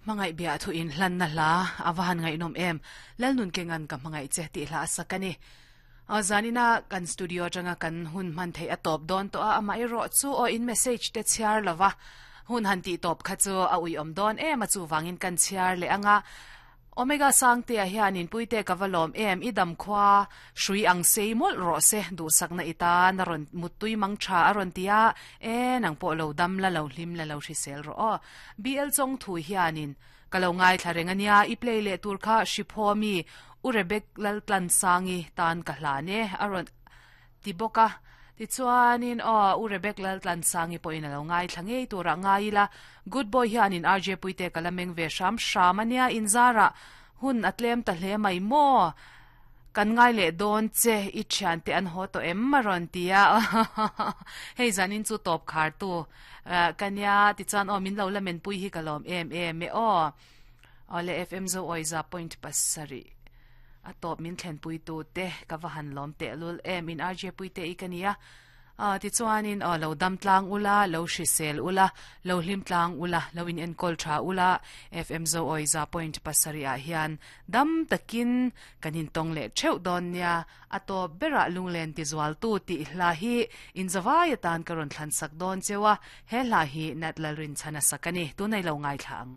Hmangaih biah thu in hlanna hla a va han ngaihnawm em. Lalnun Kengan ka hmangaih che tih hla a sak a ni. Zanina kan studio atanga kan hun hman theih a tawp dawn tawh a, amaherawh chu aw in message te chhiar lova hun han tih tawp kha chu a uiawm dawn em a, chuvangin kan chhiar leh anga Omega Sangtea hian inpuite ka va lawm em, i dam khua hrui ang sei mawlh rawh se, duhsakna i tan a rawn muttui mang tha a rawn ti a, e nang pawh lo dam la lo hlim la lo hrisel rawh aw. BL Chawngthu hianin ka lo ngaithla reng a nia, i play leh tur kha Hriphaw mi U Rebek Laltlansangi tan ka hlan e a rawn ti bawk a, tichuanin aw U Rebek Laltlansangi pawhin a lo ngaithla ngei turah ngai ila, Good boy hianin RJ Puite ka la meng ve hram hram a nia, inzarah hun a tlem ta hle mai maw? Kan ngai leh dawn che, i thiante an haw tawh em? a rawn ti a, hei zanin chu tawp khar tu ka nia, tichuan aw min lo la menpui hi ka lawm em em e aw. Awle FM Zo Awiza point pasarih a tawp min thlenpui tu te ka va han lawm teh lul em in RJ Puite i ka nia ah tichuanin aw lo dam tlang ula lo hrisel ula lo hlim tlang ula lo in enkawl tha ula FM Zo Awiza point pasarih ah hian dam takin kan in tawng leh theuh dawn nia a tawp berah lunglen tizual tu tih hla hi in zavai atan ka rawn thlan sak dawn cheu a he hla hi Nat Lalrinchhana sak a ni tunei lo ngaithla ang.